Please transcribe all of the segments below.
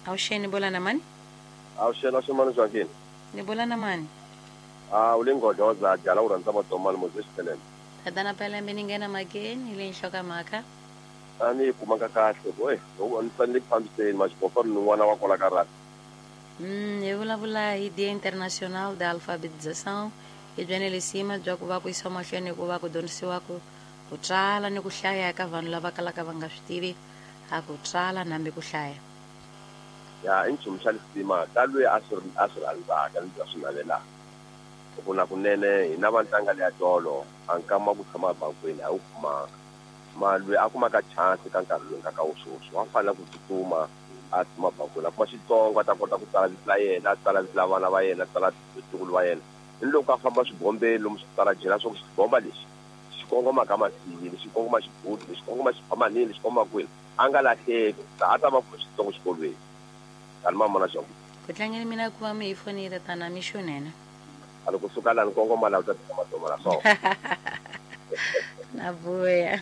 Avuxeni, bula na mani? Avuxeni, avuxeni mani Joaquin. Ni bula na mani? Ah, u le Nghodloza, jala u rhandza Matomani Moses Pelembe. Tatana Pelembe ni nghena mhakeni hi leyi nhlokamhaka. A ni yi kumanga kahle boy. Loko ni fanele ku fambiseni maxibofa ni n'wana wa kwala ka rugby. Hi vulavula hi Dia Internacional da Alfabetização, hi byene lisima bya ku va ku yisiwa mahlweni ku va ku dyondzisiwa ku ku tsala ni ku hlaya eka vanhu lava kalaka va nga swi tivi a ku tsala nambi ku hlaya. Ya i nchumu xa lisima ka lweyi a swi a swi rhandzaka ni a swi navelaka. Hi ku na kunene hina va ntanga leya tolo a nkama wa ku tshama ebankweni a hi wu kumanga. Ma lweyi a kumaka chance ka nkarhi lowu nga ka wo swoswi wa fanela ku tsutsuma a tshama bankweni a kuma xitsongo a ta kota ku tsala vito la yena, a tsala vito la vana va yena, a tsala vatukulu va yena. Ni loko a famba swibombeni lomu switarajeni a swa ku xibomba lexi xi kongoma ka Masiyile, xi kongoma Xibudu, lexi kongoma Xiphamanini, lexi kongoma kwini, a nga lahleki, a ta va pfuna xitsongo xikolweni. Tani mama na xona. Ku tlangeni mina ku va mi hi fonile tana mixo nene. A loko suka lani kongoma la u ta tika matoma la so. Na vuya.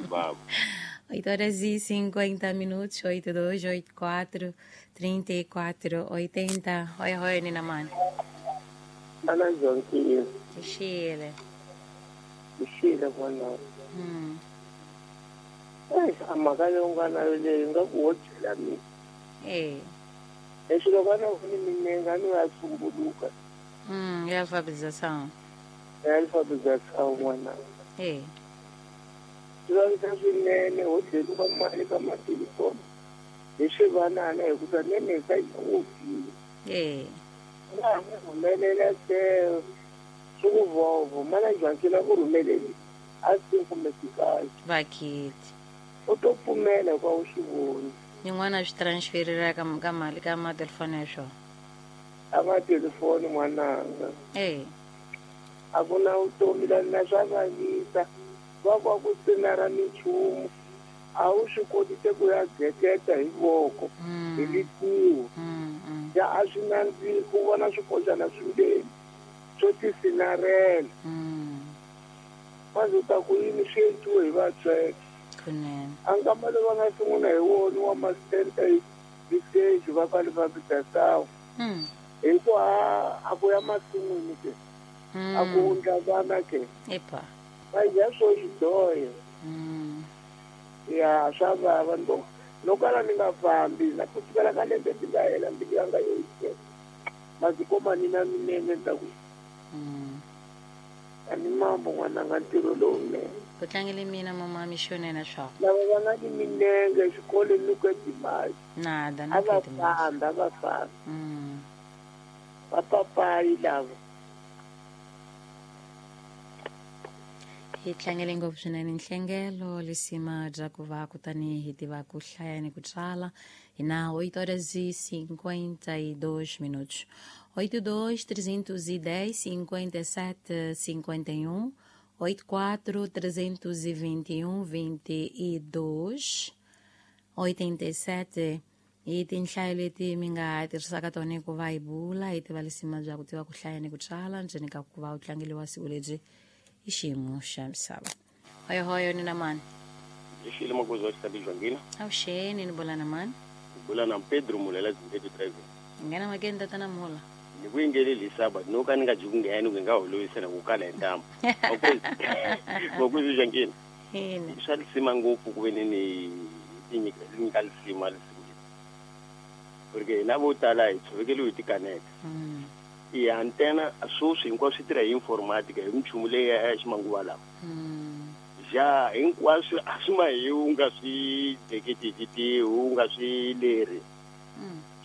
Mama. 8 horas e 50 minutos, 82, 84, 34, 80. Oi, oi, Nina Mani. Ana Joaquim, Xile. xile n'wana. Eish, a mhaka leyi u nga na yo leyi nga ku wo byela mina. Eh. Leswi loko a na voni minenge a ni ya tsumbuluka. Ya alfabetização. Ya alfabetização n'wana. Eh. Swi vavisa swinene ho dleriwa mali ka matelefoni hi swivanana hikuva nene hi sa yi Eh. Nga ha n'wi rhumelela se swi ku vovo mana Joaquim a ku rhumeleli a swi kumbe swikahle. Vakiti. U to pfumela hikuva u swi voni. Yin'wana swi transferira ka ka mali ka matelefoni ya swona. A matelefoni n'wananga. Eh. A ku na vutomi la na swa vavisa va ku a ku sinara minchumu a wu swi koti se ku ya geketa hi voko hi litiho ya a swi nandziki ku vona swikoxana swimbirhi swo tisinarela manje u ta ku yini swi endliwe hi vatsweke Kunene. a nkama lowu va nga sungula hi wona wa ma-stand hi stage va ka alfabetização hi ku a a ku ya masin'wini ke a ku wundla vana ke Epa. va dya swo xidyohe ya swa vava no no kala ni nga fambi na ku sukela ka lembe ndzi nga hela mbilu yanga yo yiseka mazikoma ni na minenge ni ta ku a ni mambo n'wananga ntirho lowunene. Ku tlangele mina mama mixonene swa. Lava va nga ni minenge exikolweni ni ku timali. Nada na A va ku timali. fambi a va fambi. Vapapayi lava. Hi tlangele ngopfu swinene nhlengelo lisima bya ku va kutani hi tiva ku hlaya ni ku tsala hi na 8 horas e 52 minutos 82 310 57 51 84 321 22 87 hi tinhlayo leti mi nga tirhisaka tona ku va hi bula hi tiva lisima bya ku tiva ku hlaya ni ku tsala ndzeni ka ku va u tlangeliwa siku lebyi i xiyimo xa misava hoyohoyo ni na mani Xile makuzi wa xitabi Jwangila. Avuxeni, ni bula na mani? Bula na Pedro Mulela Zimbabwe driving. Nghena makeni tatana Mula. Ni ku yingeleli hi saba no ka ni nga ji ku nghena ku nga holovisa na ku kala hi ntamu. Makuzi Jwangila. Ina. Swa lisima ngopfu ku ve ni ni tinyika nyika lisima lisiku leri. Porque hina vo tala hi tshovekeliwe hi tikaneta. Ya ntsena sweswi hinkwaswo swi tirha hi informatica hi minchumu leyi ya ximanguva lawa. Ja hinkwaswo a swi ma hi u nga swi deketeki u nga swi leri.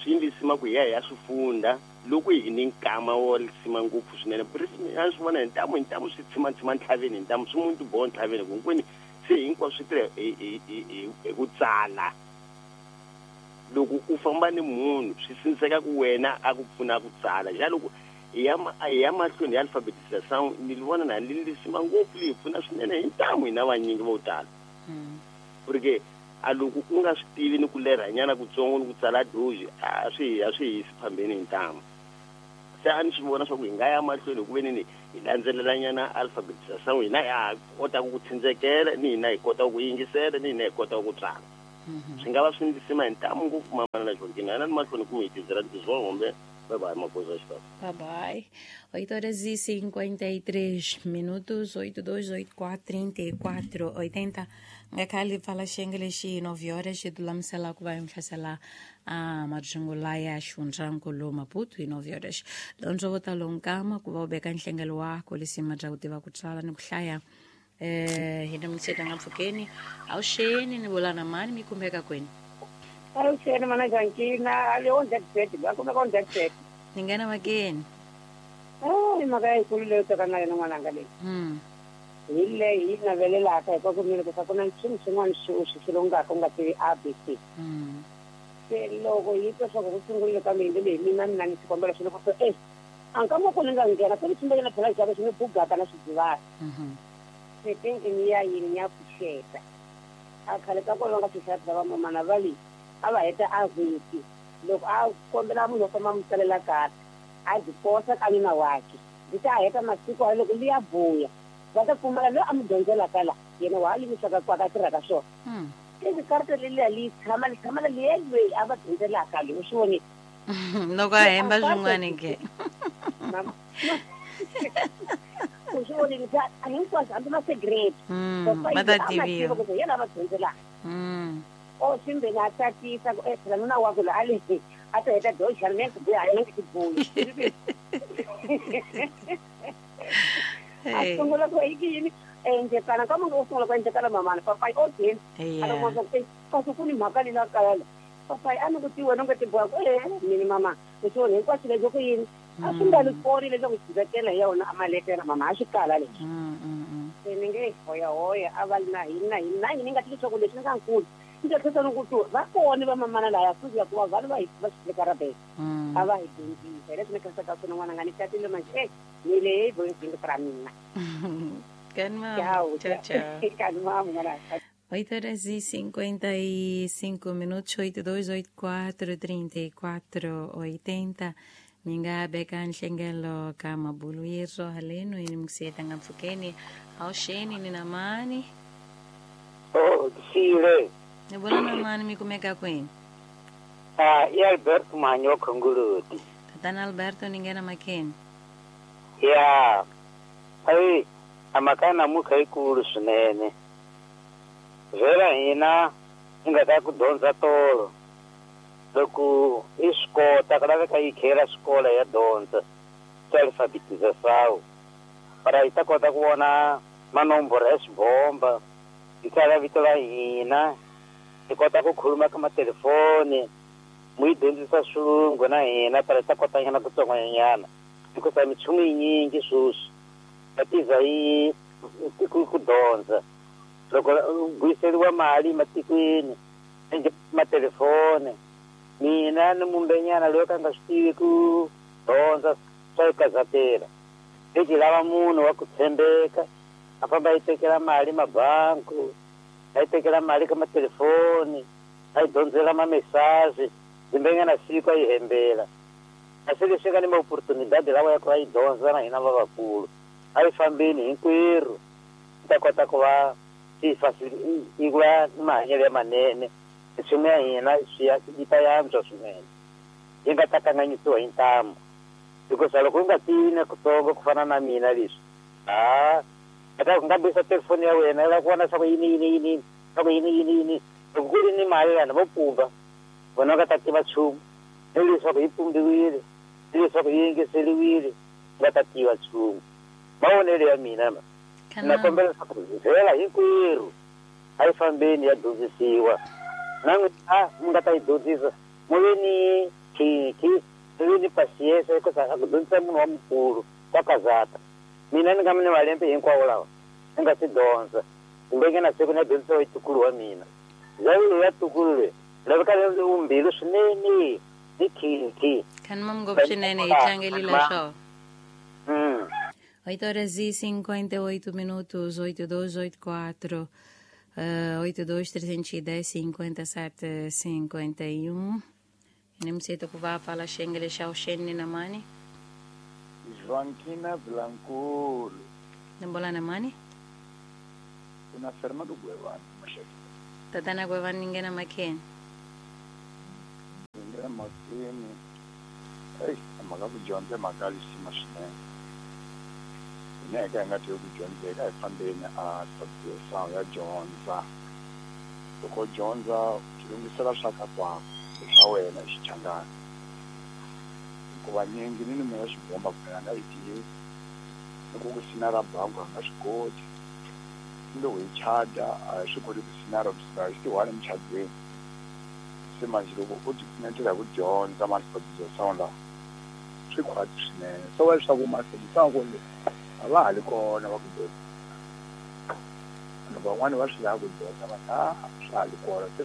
Swi lisima ku hi ya hi ya swi funda loko hi ni nkama wo lisima ngopfu swinene. A swi vona hi ntamu hi ntamu swi tshima tshima ntlhaveni hi ntamu swi muntu boha ntlhaveni ku hinkwenu se hinkwaswo swi tirha hi ku tsala. Loko u famba ni munhu swi sindziseka ku wena a ku pfuna ku tsala. Ja loko hi ya mahlweni hi alfabetização ni vona na li lisima ngopfu li hi pfuna swinene hi ntamu hina vanyingi vo tala. Porque a loko u nga swi tivi ni ku lerhanyana kutsongo ni ku tsala doji a swi hisi phambeni hi ntamu. Se a ni swi vona swa ku hi nga ya mahlweni hi ku ve ni hi landzelelanyana alfabetização hina ha kotaka ku tsindzekela ni hina hi kotaka ku yingisela ni hina hi kotaka ku tsala. Swi nga va swi ndlisima hi ntamu ngopfu mamana na Joaquina yena ni mahlweni ku mi hi tizela tizwa hombe. Bye bye magoza xikava. Bye bye. 8 horas e 53 minutos, 8284 3480. Ngakhali pfala xiyenge lexi 9 horas xi lulamisela ku va yi hlasela a marungula ya xifundzankulu Maputo hi 9 horas. Dyondzo vo talo nkama ku va u veka nhlengelo wako lisima bya ku tiva ku tsala ni ku hlaya. Hi na mutsheta nga mpfhukeni awuxeni ni vula na mani mi khumbeka kwini? Awuxeni mana Jankina a le on that bed va kumeka on that bed. Ni nghena makeni. Ai mhaka yikulu leyo teka na yona n'wananga leyi. Hi leyi yi navelelaka hi ku mina ku ku na nchumu xin'wana xi u xi xilongaka u nga tivi ABC. Se loko yi twa swa ku sungulile ka mina leyi mina mina ni xikombelo xi loko se a nkama ku ni nga nghena se ni sungule phela xava xi ni bugaka na swidzivana. Se thinking ya yini ya pfuxeta. A khale ka kona nga swi va mamana va le a va heta a vhiki loko a kombela munhu wo famba mu tsalela karata a byi posa ka nuna wakhe byi ta heta masiku a loko liya vuya va ta pfumala loyi a mu dyondzelaka la yena wa ha yimisaka kwaka a tirhaka swona. Ivi karata leliya li tshama li tshama liya loyi a va dyondzelaka loyi u swi vonile. Loko a hemba swin'wana ke. U swi vonile a hinkwaswo hambi ma cigarette. Va ta tiviwa. Yena a va dyondzelaka. O swimbeni a tsakisa ku phela nuna wakwe loyi a le a ta heta doxana ni ku buya ni ku buya. A sungula ku yi yini endlekana ka munhu wo sungula ku endlekana mamana papayi o dini a loko ku kasi ku ni mhaka leyi la kaya la papayi a ni ku tiwena u nga tiboha ku mini mama leswi wona hinkwaswo leswi ku yini a swi nga ni koni leswaku swi vekela hi yona a maletela mama a swi kala leswi. Se ni nge hoyahoya a va na hina hina ni nga tivi leswaku leswi ni nga nkulu ni ta tlhela ni ku tu va kona va mamana laya futhi ya ku va vanhu va hi va swi veka rabela a va hi dyondzisa hi leswi ni khensaka swona n'wananga ni tatile manje ni le voicing ra mina. Tchau, tchau. Tchau. 8 horas e 55 minutos, 8284 34 80. Minga beka nhlengelo ka mabulu yeso haleno ini mkusiyeta nga mpfhukeni awuxeni ni na mani. Oh, sile. Ni vona na mani mi kumeka kwini? Ah, i Alberto Manyo Khongoloti. Tatana Alberto ni nghena makeni. Ya. Ai, a mhaka namuntlha yikulu swinene. Vhela hina hi nga ta ku dyondza tolo. Loko i swi kota ku laveka yi khela xikolo ya dyondza swa alfabetização para yi ta kota ku vona manomboro ya xibomba yi tsala vito la hina yi kota ku khuluma ka matelefoni mu yi dyondzisa swilungu na hina para yi ta kota nyana ku tsongwanyana hikusa minchumu yinyingi sweswi va tiza yi ku dyondza loko u vuyiseriwa mali ematikweni matelefoni mina ni mumbenyana loyi ka nga swi tivi ku dyondza swa yi kazatela lexi lava munhu wa ku tshembeka a famba yi tekela mali mabanku a yi tekela mali ka matelefoni a yi dyondzela mamesazi dzimbenyana siku a yi hembela a se leswi nga ni maoportunidade lawa ya ku va yi dyondza na hina lavakulu a yi fambeni hinkwerhu yi ta kota ku va yi va ni mahanyelo ya manene nchumu ya hina yi ta yantswa swinene yi nga ta kanganyisiwa hi ntamu hikusa loko u nga tivi na kutsongo ku fana na mina leswi a ta ku ngambisa telefoni ya wena yi lava ku vona leswaku yini yini yini swa ku yini yini yini loko ku ri ni mali vanhu vo pumba vona va nga ta tiva nchumu ni leswaku yi pumbiwile ni leswaku yi yingiseriwile nga ta tiva nchumu mavonelo ya mina ma na kombela leswaku vhela hinkwerhu a yi fambeni ya dyondzisiwa na n'wina mi nga ta yi dyondzisa mu ve ni khikhi mi ve ni pasiensa hikusa a ku dyondzisa munhu wa mukulu wa kazata mina ni nga mi ni malembe hinkwawo lawa ni nga si dyondza kumbe nge na siku ni ya dyondzisiwa hi ntukulu wa mina zayo ya ntukulu loyi laveka umbilu swinene ni khikhi Khanima ngopfu swinene hi tlangelile swona. 8 horas e 58 minutos, 8284 82 310 57 51. Ni msito kuva pala xengele xa uxeni na mani. Joaquina Blankulu. Nimbola na mani? Kuna Fernando Guevara Mashaki. Tatana Gwevani ni nghena makheni. Ni nghena makheni. Eyi, mhaka ku dyondza i mhaka ya lisima swinene. Hina hi ka hi nga tivi ku dyondzeka a hi fambeni a sound ya dyondza. Loko u dyondza u tilunghisela swa ka kwako swa wena hi xichangani. Hikuva nyingi ni mina xibomba kumbe a nga yi tivi. Loko ku sinara bangi a nga swi koti. Ni loko hi chada a hi swi koti ku sinara ku sinara xi tiwani emuchadweni. Se manje loko u tipfunetela hi ku dyondza mahlodiso sound lawa swi khwatsi swinene. So wa leswaku mahlodiso sound ku a va ha li kona va ku dyondza. Vanhu van'wani va swi lava ku dyondza va swa ha li kona se.